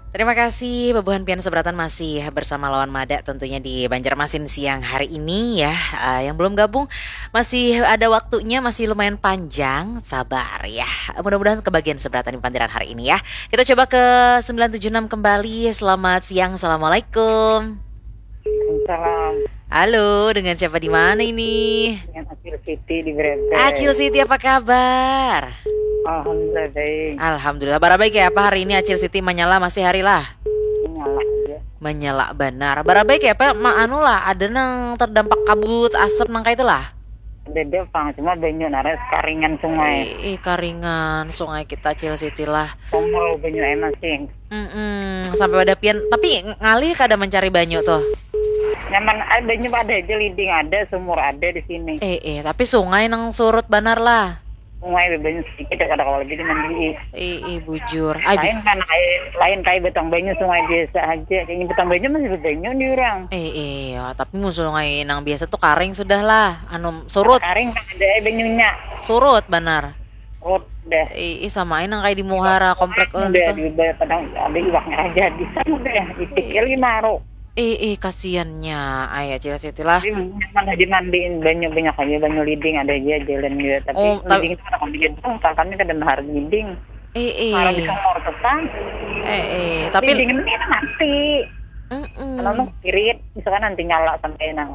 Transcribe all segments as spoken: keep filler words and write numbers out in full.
Terima kasih, bebuhan pian seberatan masih bersama lawan Mada tentunya di Banjarmasin siang hari ini ya. Uh, yang belum gabung, masih ada waktunya, masih lumayan panjang, sabar ya. Mudah-mudahan kebagian seberatan di pandiran hari ini ya. Kita coba ke sembilan tujuh enam kembali. Selamat siang, Assalamualaikum. Salam. Halo, dengan siapa di mana ini? Dengan Acil Siti di Brebes. Acil Siti, apa kabar? Alhamdulillah baik. Alhamdulillah. Bara baik ya apa hari ini, Acil Siti? Manyala masih hari lah? Menyala aja. Menyala banar. Bara baik ya apa? Ma anu lah, ada nang terdampak kabut, asap nang kayak itulah. Ada pang, cuma banyu naras karingan sungai. Ih, karingan sungai kita, Acil Siti lah. Sumur banyu enak sih. Mm-mm, sampai pada pian, tapi ngalih kada mencari banyu tuh. Nyaman, ah, banyu ada aja, liding ada, sumur ada di sini. Eh, eh, tapi sungai nang surut banar lah. Sungai banyu sedikit ya, kada kawa lagi dimandi. Eh, eh, bujur. Ay, lain kan kayak lain kayak batang banyu, sungai biasa aja. Kayaknya batang banyu masih banyu di orang. Eh, eh, ya, tapi mun sungai nang biasa tuh karing sudah lah, anu surut. Karing kan ada air banyunya. Surut banar. Surut deh. Eh, eh, samain nang kayak di muhara komplek orang Udah itu. Diubah kadang ada iwaknya aja di sana deh. Itik ya lima ro. Eh, eh, kasiannya, ayah Cil Siti lah. Jadi mana dimandiin banyu banyak aja, banyu liding ada aja jalan juga, tapi Oh, tapi- liding itu orang dia dong, kami kada mahar liding. Eh, eh. Mahar di kamar petang. Eh, eh, tapi Liding ini mati. Mm-mm. Kalau mau spirit, misalkan nanti nyala sampai nang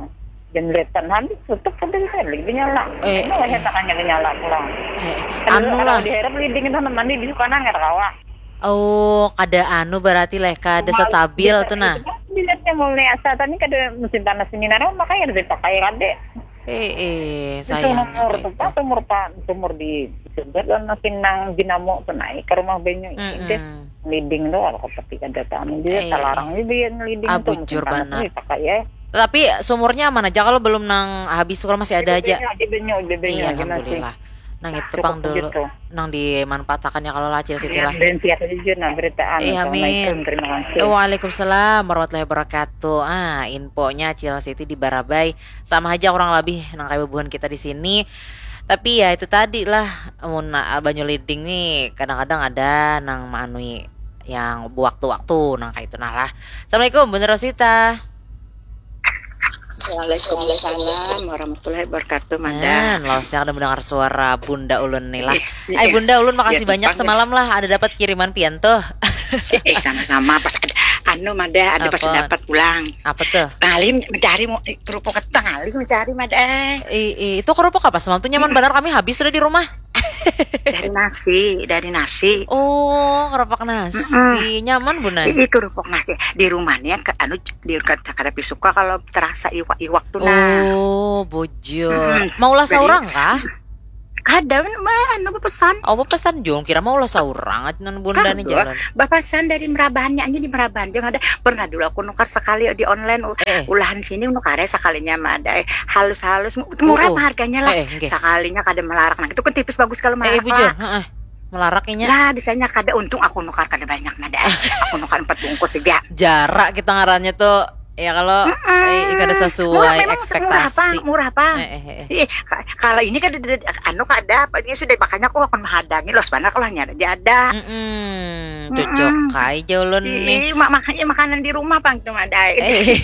jendela habis tutup sampai bisa lagi nyala. Eh, Ini wajah tangannya nyala pulang. Eh, Aduh, anu kalau lah. Di Arab liding itu mandi di kanan nggak kawa. Oh, kada anu berarti leh, kada stabil tuh nah. Dilihatnya mulai asa tadi kada musim panas ini, nah, makanya lebih pakai kade. Eh, eh, Itu sayang sumur apa tuh itu. Pak, sumur Pak, sumur di sebelah dan makin nang dinamo tuh naik ke rumah banyu ini deh. Mm-mm. Liding tuh kalau tapi kada tahu dia Eh, talarang juga yang liding Ah, tuh musim bujur panas banar. ini pakai ya. Tapi sumurnya aman aja kalau belum nang habis, kalau masih ada aja. Ada banyu, ada banyu Iya, aja masih. alhamdulillah. Nang itu Cukup pang dulu. begitu. Nang dimanfaatkan ya kalau lah, Cil Siti lah. Dan siap aja nah berita anu. Eh, amin. Assalamualaikum, terima kasih. Waalaikumsalam warahmatullahi wabarakatuh. Ah, infonya Cil Siti di Barabai. Sama aja kurang lebih nang kayak bubuhan kita di sini. Tapi ya itu tadi lah, mun na- banyu liding nih kadang-kadang ada nang maanui yang waktu-waktu nang kayak itu nah lah. Assalamualaikum Bunda Rosita. Waalaikumsalam warahmatullahi wabarakatuh, Mada. Nah, lawasnya kada mendengar suara bunda ulun nih lah. Iya. Ay bunda ulun, makasih Iya, banyak Bang. Semalam lah ada dapat kiriman pian tuh. Eh, sama-sama. Pas ada, anu, Mada, ada pas Apa? Dapat pulang. Apa tuh? Ngalih mencari mau eh, kerupuk ketang, ngalih mencari, Mada. I, i, itu kerupuk apa semalam tuh? Nyaman benar, kami habis sudah di rumah. Dari nasi, dari nasi. Oh, kerupuk nasi. Nyaman bunda. Ini kerupuk nasi di rumahnya ke anu di kata kata pisuka kalau terasa iwak-iwak tuh nah. Oh, bujur. Mm-mm. Maulah Jadi- seorang kah? Ada mah anu pesan. Oh, pesan jung kira maulah seorang nan bunda nih Aduh, jalan. Bapasan dari Merabahannya aja di Merabahan. Jangan ada pernah dulu aku nukar sekali di online u- Eh. Ulahan sini nukar ya sekalinya mah ada eh, halus-halus murah Oh, oh. Harganya lah. Eh, eh, nggih. Sekalinya kada melarak nah itu kan tipis bagus kalau Eh, melarak bujur. lah. Heeh. Melarang inya. Lah di sana kada untung aku nukar kada banyak mah ada. Aku nukar empat bungkus saja. Jarak kita ngarannya tuh ya kalau eh, kada Murah sesuai memang murah pang, ekspektasi. Murah pang. Eh, eh, eh, eh. Ih, ka- kalau ini kan ada, ada- anu kada apa dia sudah makanya aku akan menghadangi los mana kalau hanya ada dia ada. Mm-mm. Cocok kai ja ulun nih. Ih, mak makanya makanan di rumah pang itu ada. Eh,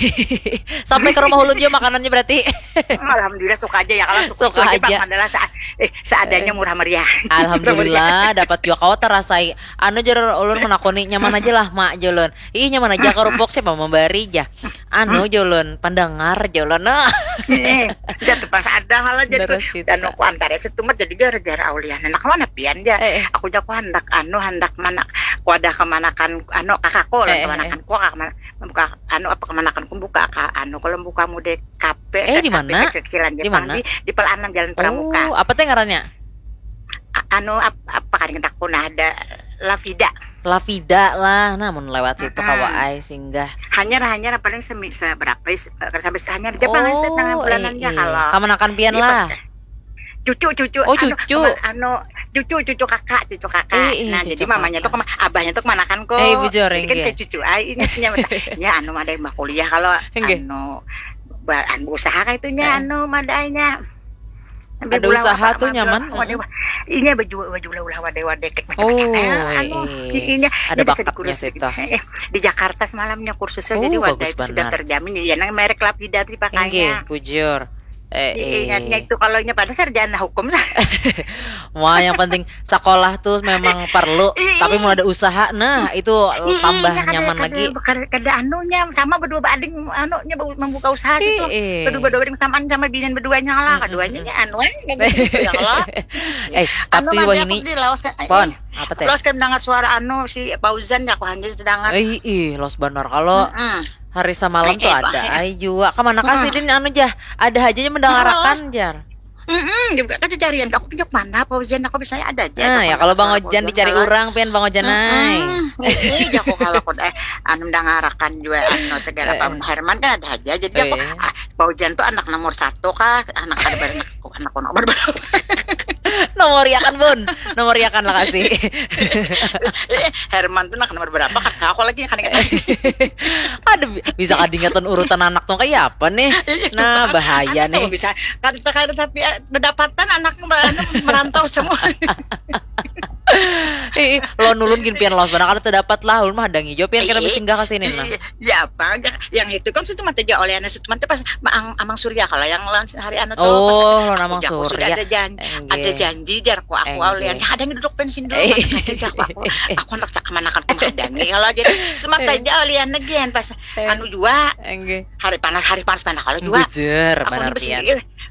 sampai ke rumah ulun juga makanannya berarti. Alhamdulillah suka aja ya kalau suka, Suka suka aja, aja. Pang, adalah sa- eh, seadanya murah meriah. Alhamdulillah dapat juga kau terasai. Anu jer ulun menakuni nyaman aja lah mak, julun. Ih, nyaman aja kerupuk, siapa memberi ja. Anu, julun, pendengar, julun. Nah. Eh, jatuh pas ada hal aja Bener tuh. sih, Dan Kak. aku antara setumat jadi gara-gara aulian. Nah, kalau pian ya. Eh, eh. Aku jago hendak anu hendak mana aku ada kemanakan anu kakakku lah Eh, eh, kemanakan ku kakak mana buka anu apa kemanakan ku buka ka anu kalau buka mude kafe Eh, di mana? Kecilan Di Jepang mana? Di, di Pelanan Jalan Pramuka. Oh, apa teh ngarannya? A- anu ap, apa kan kita aku nah ada Lavida. Lavida lah, namun lewat situ Mm-mm. Kawaai singgah. Hanyar hanyar paling semi seberapa is- eh, sampai hanyar Jepang Oh, sih tengah bulan eh, aja eh. kalau. Kamanakan pian Iya, lah. Pas, cucu cucu Oh, anu, cucu. kema- anu cucu cucu kakak cucu kakak Eh, eh, nah cucu jadi mamanya kakak. Tuh kema- abahnya tuh kemanakan kok Eh, bujur, jadi kan inggih. Kayak cucu ai ini punya ya anu ada yang kuliah kalau Inggih. Anu ba- anu usaha kayak itunya Eh. Anu madainya Ada usaha tuh nyaman. Inya baju baju ulah-ulah wadai-wadai kek macam-macam. Oh, anu, inya ada bakatnya situ. Di Jakarta semalamnya kursusnya, jadi wadai itu sudah terjamin. Ya, nang merek Lapida tuh pakainya. Bujur. Eh, ingatnya itu kalau inya pada sarjana hukum lah. Wah, yang penting sekolah tuh memang perlu, tapi mau ada usaha, nah itu tambah nyaman lagi. Kada anunya sama berdua bading anunya membuka usaha situ. Kedua berdua bading samaan sama binian berduanya lah, keduanya anu aja. Eh, tapi wah ini pon apa teh? Los kan dengar suara anu si Fauzan ya, aku hanya dengar. Eh, ih, los benar kalau hari semalam tuh ada ai jua. Kemana kasih din anu jah? Ada aja yang mendengarakan jar. Hmm, juga kan carian aku pinjak mana Fauzan, aku bisa ada aja. Nah, ya kalau Bang Ojan dicari orang pian Bang Ojan ai. Ini jago kalau aku eh anu mendengarakan juga anu segala apa Herman kan ada aja. Jadi aku Fauzan tuh anak nomor satu kah? Anak ada anak anak nomor berapa? Nomor ya kan Bun, nomor ya kan lah kasih. Herman tuh anak nomor berapa? Kata aku lagi kan ingat. Ada bisa kadingetan urutan anak tuh kayak apa nih? Nah, bahaya nih. Bisa kada kada tapi pendapatan anak merantau semua. Ih, lo nulun gin pian lawas banar kada terdapat lah, ulun mah hadangi jua pian kita bersinggah ke sini nah. Ya apa aja yang itu kan situ mata jauh oleh anak situ mata pas amang surya kalau yang lawan hari anu tuh. Oh, lawan amang surya. Ada janji, ada janji jar ku aku oleh ada yang duduk pensin dulu. Aku anak cak mana kan aku hadangi kalau jadi semata jauh oleh anak gen pas anu jua. Hari panas hari panas mana kalau jua. Bujur, aku benar pian.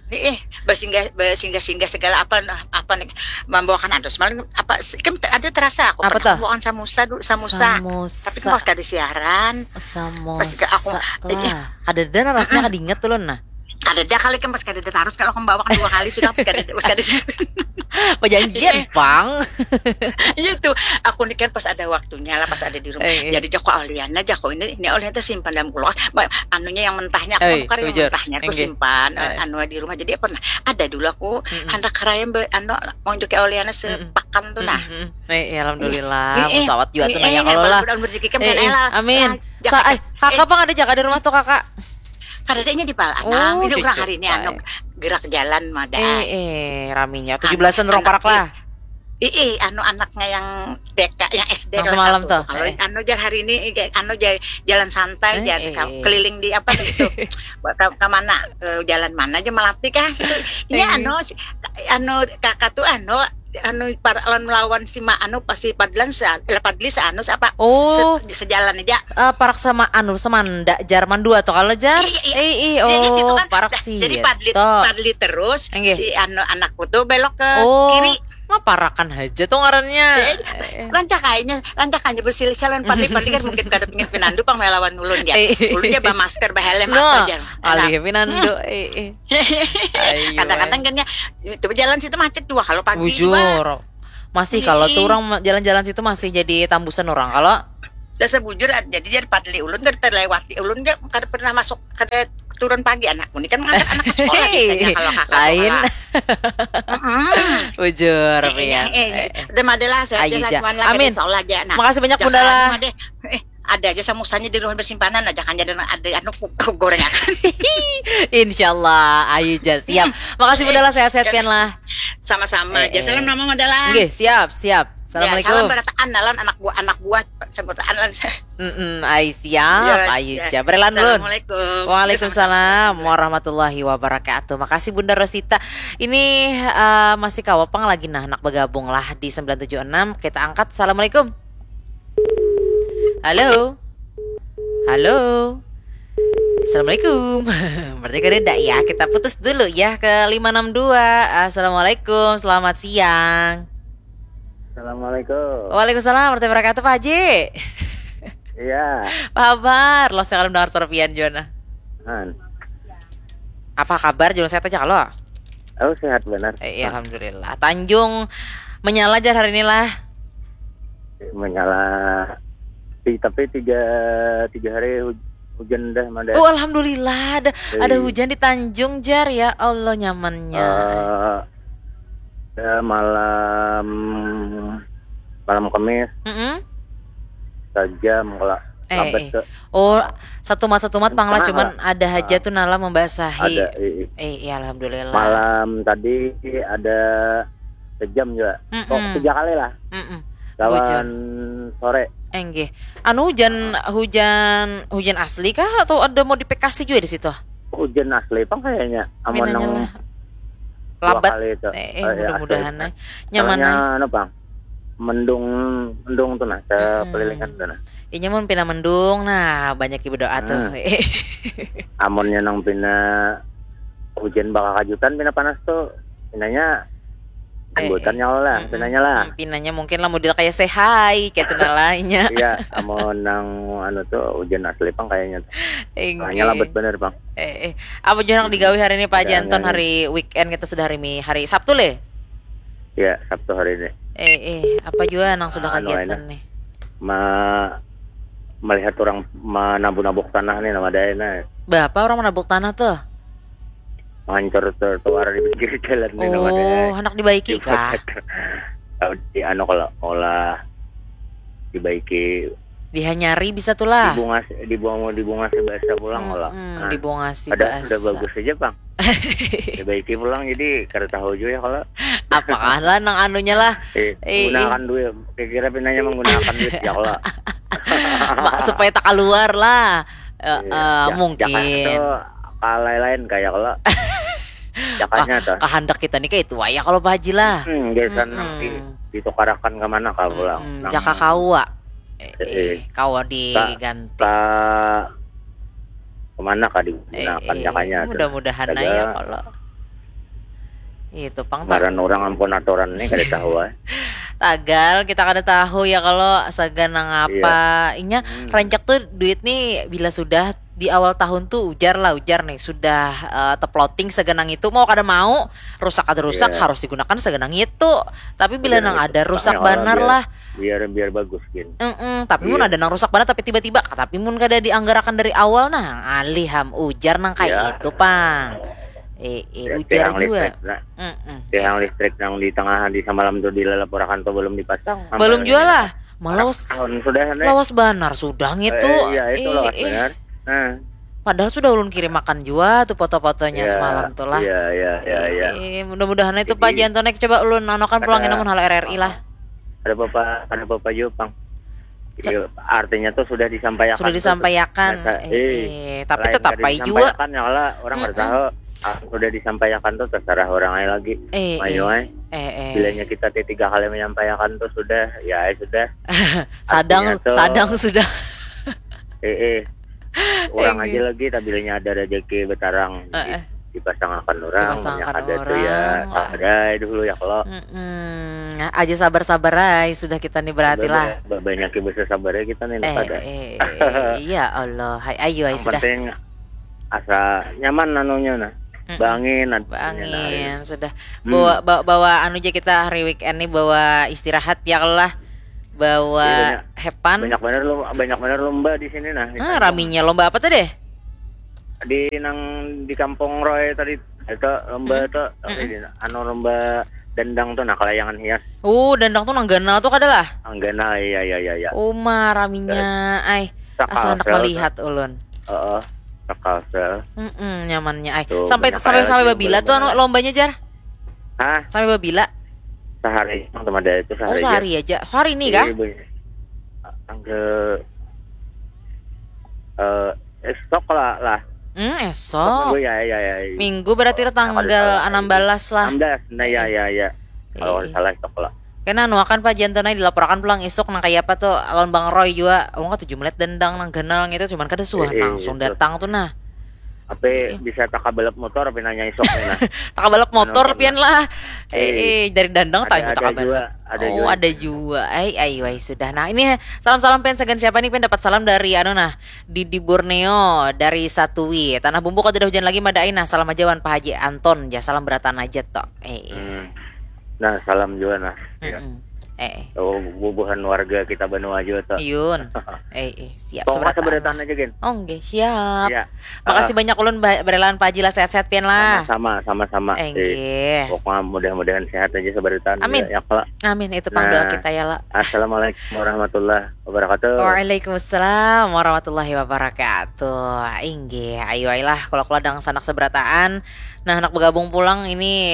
Eh, eh, bersinggah bersinggah singgah segala apa apa nih membawakan andos malam apa kan ada terasa aku pernah membawakan samosa dulu samosa tapi pas kada siaran samosa aku lah kada ada rasanya kada ingat tuh nah kada ada kali kan pas kada ada terus kalau membawakan dua kali sudah pas kada pas kada siaran perjanjian pang iya tuh aku nih kan pas ada waktunya lah pas ada di rumah jadi aku Aliana aja kok ini ini Aliana tuh simpan dalam kulkas anunya yang mentahnya aku kan yang mentahnya aku simpan anu di rumah jadi pernah ada dulu aku handak raya anu mau juga Oliana sepakan tuh nah. Eh, ya, alhamdulillah, pesawat juga tuh nanya kalau lah. Amin. Sa eh, kakak pang ada jaga di rumah tuh kakak. Kadadanya di Palanang, oh, ini orang hari ini anu gerak jalan mada. Eh, eh, raminya tujuh belasan orang parak lah. Ih, anu anaknya yang T K, yang S D kelas semalam tuh. Kalau anu jar hari ini anu jar jalan santai jar keliling di apa gitu. Ke, ke mana? Ke jalan mana aja melatih kah situ. Iya anu anu kakak tuh anu anu para lawan melawan si ma anu pasti padlan se, eh, padli seanu apa oh se, sejalan aja uh, parak sama anu semanda jar mandua tuh kalau jar iya, iya. Eh, oh parak sih jadi padli, padli terus si anu anakku tuh belok ke oh. Kiri mah parakan aja tuh ngarannya. Rancak kayaknya, rancak aja bersilih-silih padli padli kan mungkin kada pingin pinandu pang melawan ulun ya. Ulun ya ba masker ba helm apa aja. Alih pinandu. Kadang-kadang kan ya itu jalan situ macet dua kalau pagi. Bujur. Masih kalau tuh orang jalan-jalan situ masih jadi tambusan orang kalau. Saya sebujur jadi jadi padli ulun kada terlewati ulun kada pernah masuk kada turun pagi anakku ini kan mengantar anak ke sekolah biasanya kalau kakak lain bujur ya eh, eh, udah madalah saya aja lah amin insyaallah aja nah makasih banyak bunda lah eh, ada aja samusanya di rumah bersimpanan aja kan jadi ada anu goreng insyaallah ayu aja siap makasih bunda lah sehat-sehat pian lah sama-sama aja salam nama madalah oke siap siap assalamualaikum ya, salam berataan lawan anak buah anak buah seberataan lawan Mm-mm, ay, siap, ya, ayu ya. Aja. Berelan belum? Assalamualaikum. Waalaikumsalam warahmatullahi wabarakatuh. Makasih Bunda Rosita. Ini uh, masih kawa pang lagi nah anak bergabung lah di sembilan tujuh enam. Kita angkat. Assalamualaikum. Halo. Halo. Assalamualaikum. Berarti kada ya. Kita putus dulu ya ke lima enam dua. Assalamualaikum. Selamat siang. Assalamualaikum. Waalaikumsalam warahmatullahi wabarakatuh Pak Haji. Iya. Apa kabar? Lo sekarang dengar suara pian Jona. Han. Apa kabar? Jona sehat aja kalau? Oh sehat benar. Eh, iya, alhamdulillah. Tanjung menyala jar hari ini lah. Menyala. Tapi tiga tiga hari hujan dah mada. Oh alhamdulillah ada ada hujan di Tanjung jar ya Allah nyamannya. Uh, Ya, malam malam Kamis. Mm -mm. Sajam kalau eh, lambat eh. Ke. Oh, Satumat-satumat pang lah, cuman ada haja tuh nala membasahi. Ada, i- i- Eh, iya, alhamdulillah. Malam tadi ada sejam juga. Oh, Mm-mm. tiga kali lah. Mm-mm. Lawan sore. Enggih. Anu, hujan, hujan, hujan asli kah atau ada modifikasi juga di situ? Hujan asli pang kayaknya. Amun Pinanya nang lah. dua Labat. kali itu. Eh, eh, Eh, iya, mudah-mudahan asli. eh. Nyaman Soalnya eh. Anu pang, mendung, mendung tuh nah, sekelilingan tuh nah. Inya mun pina mendung, nah, banyak ibu doa tuh. Amunnya nang pina hujan bakakajutan, pina panas tuh, pinanya Eh, ambutannya lah, Mm-mm. pinanya lah. Hmm, pinanya mungkin lah model kayak sehai, kayak tenalanya. Iya, amun nang anu tuh hujan asli pang kayaknya. Soalnya labat bener pang. Eh, eh. Apa jua nang digawi hari ini, Pak Haji Ada Anton, angin. Hari weekend kita sudah hari Mi, hari Sabtu leh. Ya, Sabtu hari ini. Eh, eh, apa jua nang sudah Anu, kegiatan enak. Nih? Ma- melihat orang menabuk-nabuk tanah nih nama daya nah. Berapa orang menabuk tanah tuh? Ngancur trotoar di pinggir jalan nih nama daya. Oh, hendak dibaiki kah? Di anu kalau olah dibaiki, Dihanyari bisa tuh lah. Dibungas, dibungas, dibungasi bahasa pulang kalau. Hmm, Nah, dibungasi ada bahasa. Sudah bagus aja pang. Dibaiki pulang jadi kada tahu juga ya kalau. Apakah lah nang anunya lah? Eh, Eh, gunakan duit. Kira-kira pinanya menggunakan duit ya kalau. Ma- supaya tak keluar lah. Eh, Iya, eh, ja- mungkin. Jakanya tuh kalai lain kayak kalau. Jakanya tuh. Kehendak kita nih kayak itu ya kalau Pak Haji lah. Hmm, biasa nang Mm-mm. di- ditukarakan ke mana kah pulang? Mm-mm, Nang- jaka kawa. Eh, Eh, eh, eh. kawa diganti. Ka- kemana kah Eh, digunakan eh, jakanya tuh? Mudah-mudahan Jaga. Aja kalau itu pang tak. Ngaran orang ampun aturan nih kada tahu ah. Tagal kita kada tahu ya kalau sagan nang apa. Inya Hmm. rancak tuh duit nih bila sudah di awal tahun tuh ujar lah, ujar nih sudah eh, teploting sagan nang itu, mau kada mau, rusak kada rusak, Iya. Harus digunakan sagan nang itu. Tapi bila Sagan nang nang ada itu, rusak rusaknya kalau banar biar- lah. Biar biar bagus gin. Mm-mm, tapi mun Iya. Ada nang rusak banar tapi tiba-tiba, tapi mun kada dianggarakan dari awal nah, alih ham, ujar nang kayak Iya. Itu pang. Eh, eh, Ya, ujar tiang juga. Listrik, nah, Mm-mm. tiang listrik yang di tengah di semalam tuh di lalaporakan tuh belum dipasang. Belum Sampai juga ini. Lah. Malah lawas, Tahun sudah nih. Lawas banar sudah Eh, ngitu. eh, iya itu Eh, lawas eh. Benar. Nah, Padahal sudah ulun kirim makan jua tuh foto-fotonya iya, semalam tuh lah. Iya iya iya iya. Eh, mudah-mudahan itu Jadi, Pak Jantonek coba ulun anokan pulang ada- namun halo R R I lah. Ada bapak ada bapak juga pang. Iya, artinya tuh sudah disampaikan. Sudah disampaikan. Biasa, Eh, eh, eh, tapi lain tetap kada baik juga. Disampaikan ya lah orang Mm-mm. Kada tahu. Ah, sudah disampaikan tuh terserah orang aja lagi. Eh, Ayo eh. Ay. Eh, eh. Bilanya kita tiga kali menyampaikan tuh sudah, ya ay, sudah. Sadang Artinya tuh- sadang sudah. Eh eh. Orang Eh, aja lagi, tapi bilanya ada rezeki betarang Eh, eh. Dipasangakan orang. Dipasangakan Banyak ada orang. Tuh ya, sabar ay dulu ya kalau. Mm-mm. Aja sabar-sabar ay sudah kita nih berarti lah. Banyak besar sabar ya kita nih. Eh, Pada. Eh, eh, ya Allah, hai ayu ay Yang sudah. Penting asa nyaman anunya nah. Mm-mm. Bangin, Bangin sudah. Hmm. Bawa, bawa bawa anu aja kita hari weekend nih bawa istirahat ya lah. Bawa Iya, banyak. Hepan. Banyak bener lomba, banyak bener lomba di sini nah. Di Ah, Tanjung. Raminya lomba apa tuh deh? Di nang di Kampung Roy tadi itu lomba Hmm. tuh Mm-mm. di- anu lomba dendang tuh nah kelayangan hias. Oh, dendang tuh nang ganal tuh kada lah? Anggana iya iya iya iya. Uma raminya ay. Asa hendak Kalsel melihat ulun. Heeh. Kalsel. Mm-mm, nyamannya ay. Tuh, Sampai banyak sampai aja sampai lagi babila tuh anu lomba-lomba. Lombanya jar. Hah? Sampai babila. Sehari cuma ada itu sehari. Oh, Aja. Sehari aja. Hari ini Iya, kah? Bang. Angke eh esok lah lah. Hmm, esok. Minggu ya ya ya. Minggu berarti Kalau tanggal salah, enam belas lah. Enam belas. Nah ya ya ya. Kalau Eh, salah esok lah. Kena anu akan Pak Janto nah dilaporakan pulang isuk nang kaya apa tuh lawan Bang Roy jua. Ulun katuju melihat dendang nang ganal ngitu cuman kada suah Eh, eh, langsung terus datang tuh nah. Apa bisa takabalap motor apa nanya isok nih nah. Takabalap motor Anu, pian lah. Eh, Eh, eh dari dandang ada- tanya ada takabalap. jua, ada Oh, jua. Ada jua. Ai ai wai sudah. Nah, ini salam-salam pian sagan siapa nih pian dapat salam dari anu nah Didi Borneo dari Satui. Tanah Bumbu kada ada hujan lagi mada ai nah. Salam aja wan Pak Haji Anton ja. Salam berataan aja tok. Eh. eh. Hmm. Nah, salam juga nah. Ya. Mm-mm. Eh, Oh, bubuhan warga kita banua jua tuh. Yun. Eh, eh, siap Pokoknya seberataan. Seberataan aja, Gin. Oh, nggih, siap. Ya. Makasih banyak ulun ba- berelaan Pak Haji lah, sehat-sehat pian lah. Sama-sama, sama-sama. Eh, Eh, nggih. Pokoknya mudah-mudahan sehat aja Seberataan. Amin. Ya, kalau Amin, itu pang doa Nah. kita ya lah. Assalamualaikum warahmatullahi wabarakatuh. Waalaikumsalam warahmatullahi wabarakatuh. Inggih, ayo lah kalau kalau dang sanak seberataan. Nah, anak bergabung pulang ini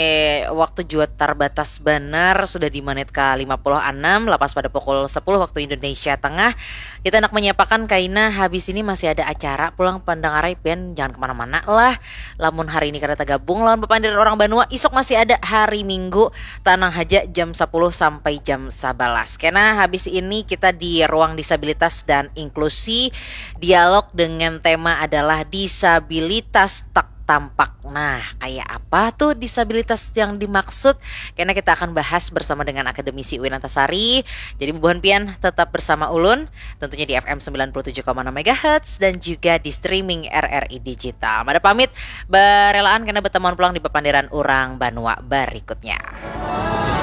waktu jua terbatas benar, sudah di menit ke lima puluh enam, lepas pada pukul sepuluh waktu Indonesia Tengah. Kita nak menyiapakan kaina habis ini masih ada acara pulang pendengar pian, jangan kemana-mana lah. Lamun hari ini kada tergabung lawan Bapandir Orang Banua, isuk masih ada hari Minggu, tanang haja jam sepuluh sampai jam sebelas. Kena habis ini kita di ruang disabilitas dan inklusi, dialog dengan tema adalah disabilitas tak tampak. Nah, kayak apa tuh disabilitas yang dimaksud? Karena kita akan bahas bersama dengan akademisi Uin Antasari. Jadi bubuhan pian tetap bersama ulun, tentunya di F M sembilan puluh tujuh koma enam megahertz dan juga di streaming R R I Digital. Mada pamit, berelaan karena bertemuan pulang di Papandiran Urang Banua berikutnya.